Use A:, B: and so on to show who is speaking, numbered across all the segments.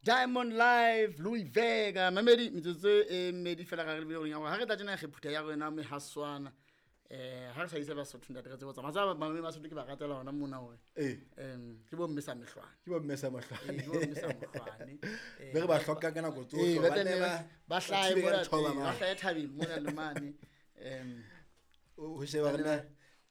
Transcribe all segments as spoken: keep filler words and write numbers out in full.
A: Diamond Live Louis Vega mamedi metsotso e mmedi fela ga re lebile goreng ya gore ga re tla tsena re phutha ya rona mehaswana eh ha re sa isa Basotho ntate re tsebo tsamaya tsaba mamedi ba Basotho ke ba ratela hona mona hore
B: ee
A: em ke bo mme sa mehlwane
B: ke bo mme sa
A: Ee,
B: mahlwane
A: ke bo mme sa mohlwane Eh,
B: be re ba hloka ka nako
A: ee,
B: tsohle
A: ba
B: ba ne
A: tla
B: ba-
A: ba hlahe
B: thibe ka
A: mona
B: dithoba
A: ee, ba
B: mane.
A: hlahe thabeng mona le mane em
B: O- ho sheba rena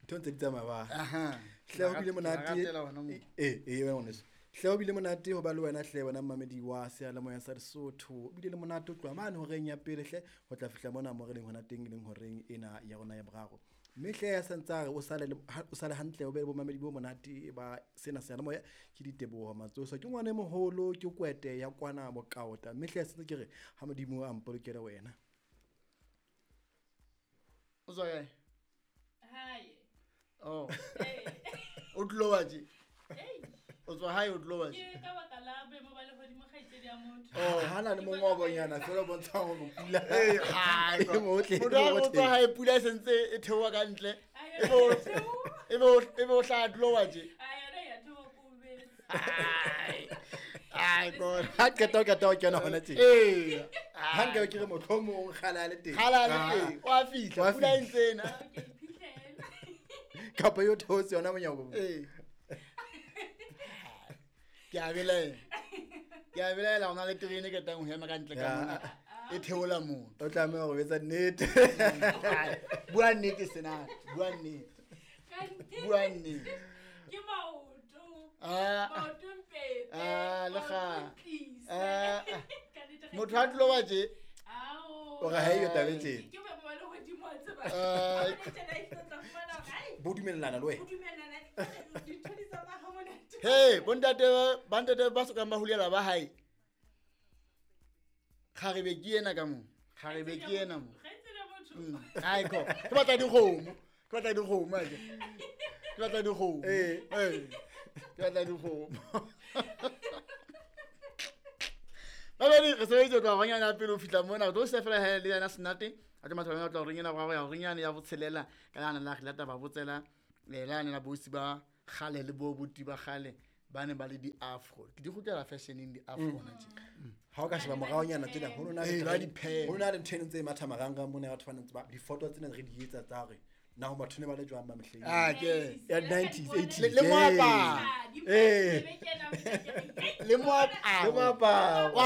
B: ntho ntse di tsamaya ba
A: aha
B: hle ho bile
A: Ke ba
B: monate
A: ratela hona moo.
B: ee ee wena ngwaneso hle ho bile monate ho ba le wena hle wena mmamedi wa seyalemoya sa Lesotho o bile le monate ho tloha mane horeng ya pele hle ho tla fihla mona mo re leng hona teng e leng horeng ena ya rona ya boraro mme hle ya santse a re o sale le- ha- o sale hantle o be le bomamedi bo monate ba sena seyalemoya ke diteboho matsoso ke ngwana e moholo ke kwete ya kwana bokaota mme hle ya santse ke re ha modimo a mpolokele wena
A: o tswa kae
C: Hae.
A: oh
C: Ee.
A: o tlilo wa tje
C: Ei,
A: o tswa hae o tlilo wa tje
C: ke ka baka la boemo ba lehodimo kgaitsedi ya motho.
B: ha na le mongobonyana fela o bontshang hore pula
A: Ee, hai,
B: e motle, e
A: motho ha o
B: motle.
A: tswa hae pula e sentse e theoha ka ntle
C: A
A: e
C: yona
A: be o-
C: ya theoha.
A: e be o- e be o hlaha tlo wa tje
C: A yona ya theoha ko bese.
A: Ai, ai god
B: ha qeta o qeta ho kena hona tje
A: ee
B: ha nkabe ke re mohlomong kgale a le teng
A: kgale a le
B: Ah.
A: teng o a fihla
B: Wa
A: pula e
B: fihla.
A: ntse ena
C: Ke iphihlele.
B: kapa yo theotse yona monyako
A: ee ke a belaela ke a belaela ho na le terene e ketang ho ema ka ntle ka
B: Ya.
A: mona e theola motho
B: o tlameha ho etsa nnete
A: Ai, bua nnete senate bua nnete
C: Kante
A: bua nnete
C: Ke maoto.
A: Ah,
C: Maoto mpete.
A: Ah, le
C: maoto
A: kga-
C: ntlise.
A: Ah, ah.
C: Ka nnete kgaitsedi
A: motho ha tlo wa tje
C: Ao.
B: o re ha eyo taba e tjena
C: Ke boemo ba lehodimo wa tseba.
A: Ah.
C: Ha o le tjena e tlo tla fumana hore, ai,
B: bo dumellana le
C: ho
B: wena
C: dumellana, dintho di tsamaya ha monate.
A: he bontate bantate ba sokang ba hulela ba hae kgarebe ke ena ka mo kgarebe ke ena mo
C: Kgaitsedi ya motho.
A: Mm, ai ko ke batla dikgomo ke batla dikgomo ake ke batla dikgomo
B: Ee.
A: ee ke batla dikgomo babedi re sebeditse ho tloha banyana ya pele ho fihla mona re tlo se fela he le yena senate a tlo matha tla horeng ena boraro ya horeng yane ya botshelela ka lane la re lata ba botsela eh, lane la bosi ba kgale le bo buti ba kgale ba ne ba le di-afro ke di kgutlela fashioneng di-afro hona tje
B: ha o ka sheba moraonyana tsena ho no na le
A: Ee, ba
B: trend-
A: di-pen.
B: ho na le ntho e ntse e matha marangrang mona ya batho ba ntse ba difoto tsena re di etsa tsa hore na ho batho ne ba le jwang ba mehleng
A: Ah, ke
B: ya nineties eighties
A: Le- le moaparo.
C: Ah, di
B: Ee.
C: be kena, ke re,
A: le moaparo
B: le moaparo
A: Wa